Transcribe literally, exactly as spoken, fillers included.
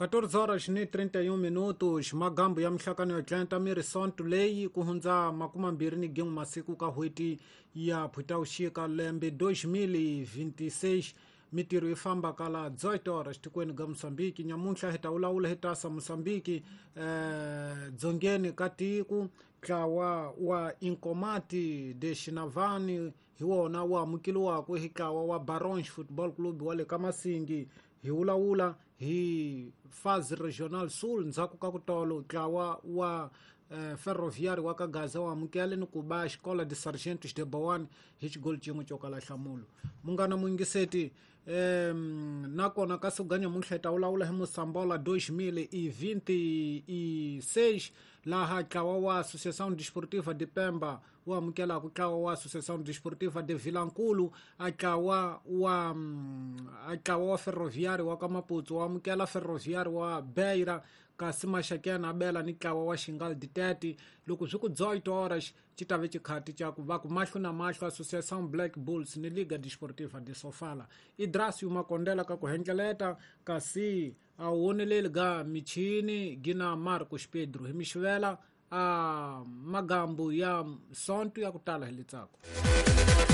catorze horas ni trinta e um minutos, magambo ya mihlakano ya Atlanta miri sonto leyi ku hundza makuma mbirhi ni gin'we masiku ka n'hweti ya Phutawuxika lembe dois mil e vinte e seis. Mitirho yi famba kala dezoito horas tikweni ga Mozambique. Nyamuntlha hi ta vulavula hi tasa Mozambique eh, dzongeni ka tiko ntlawa wa Inkomati de Xinavani hi wona wu amukeliwaka hi ntlawa wa Barons Football Club wa le ka Masingi. Hi vulavula hi Fase Regional Sul ndzhaku ka ku tolo ntlawa wa eh, Ferroviário wa ka Gaza wa amukele ni ku ba Escola de Sargentos de Boane hi xigoli xin'we xo kala nhlamulo. Munghana muyingiseti eh, nakona ka siku ga nyamuntlha hi ta vulavula hi Mosambola dois mil e vinte e seis laha ntlawa wa Associação Desportiva de Pemba wu amukelaka ntlawa wa Associação Desportiva de Vilankulu, a ntlawa wa a ntlawa wa Ferroviário wa ka Maputo wu amukela Ferroviário wa Beira, kasi Maxakena a bela ni ntlawa wa Xingal de Tete. Loko swi ku dezoito horas xi ta ve xikhati xa ku va ku mahlo na mahlo Associação Black Bulls ni Liga Desportiva de Sofala. Idrasio Makondela ka ku hendleleta kasi a woneleli ga michini gina Marcos Pedro hi mixivela a magambo ya sonto ya ku tala hi letsako.